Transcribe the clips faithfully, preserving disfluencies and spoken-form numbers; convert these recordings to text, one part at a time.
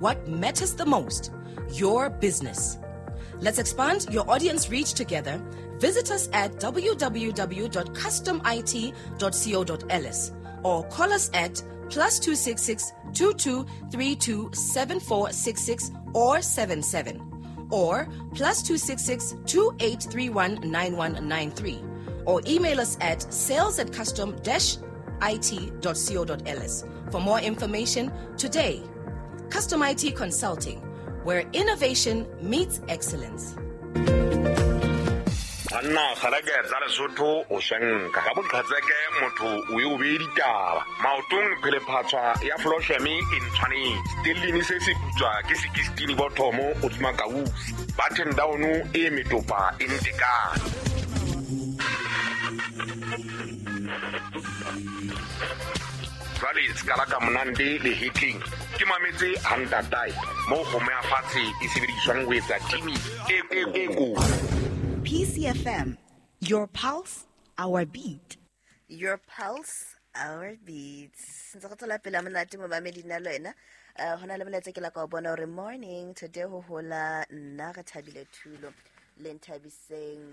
What matters the most, your business. Let's expand your audience reach together. Visit us at w w w dot custom i t dot co dot l s or call us at plus two six six, two two three two seven four six six or seven seven or plus two six six, two eight three one nine one nine three or email us at sales at custom dash i t dot co dot l s for more information today. Custom I T Consulting, where innovation meets excellence. Anna kgaleke tsa Lesotho o senka ka boqhetseke motho o e o be ditaba maotong phelephatswa ya Flosheme e ntshwanetse tellini se se putswa ke sixteen bothomo o tsuma kausi button down e metopa e ntekane. Jwale ska la ka monande le hitling ke mametse hantatae mo go me fatshe e sebediswang ho etsa timi e e e ko. P C F M, your pulse, our beat. Your pulse, our beat. Ntse go tswela pele monate mo mamedi nna le wena. Eh hona le molaetsa ke la ka o bona hore morning today ho hola nna re thabile thulo le nthabiseng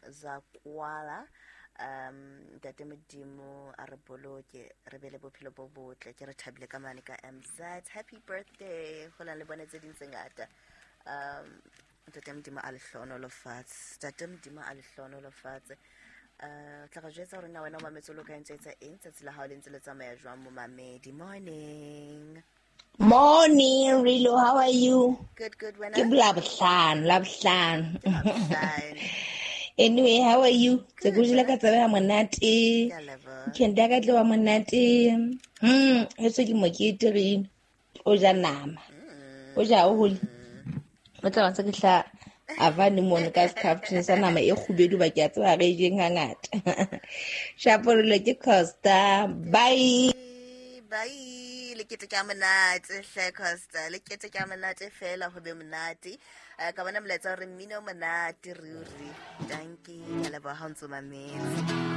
za kwala. Um ntate Modimo a re boloke re be le bophelo bo botle ke re thabile ka mane ka M Z. Happy birthday go la le bone tse ding tse ngata. Um ntate Modimo a le hlohonolofatse, ntate Modimo a le hlohonolofatse. Eh tla re jwetsa hore na wena o mametse lo ka ntse etsa eng tsatsi la hao le ntse le tsamaya jwang mo mamedi. Morning. Morning, Rilo, how are you? Good, good, wena? Ke Labohlano, Labohlano. Anyway, how are you? Tse go jela ka tsaba ya monate. Ke nda ka tloa monate. Hmm, heso ke mokete re o ja nama. O ja o hole. O tla ba tsa ke hla avane mone ka scaftini sa nama e kgubedu ba ke a tseba re jeng hangata. Shaporelo ke Costa. Bye. Bye. Le kete ka monate hle Costa. Le kete ka monate fela ho be monate. Ka bona molaetsa hore mmino o monate ruri. Dankie, ke a leboha ha o ntso mametse.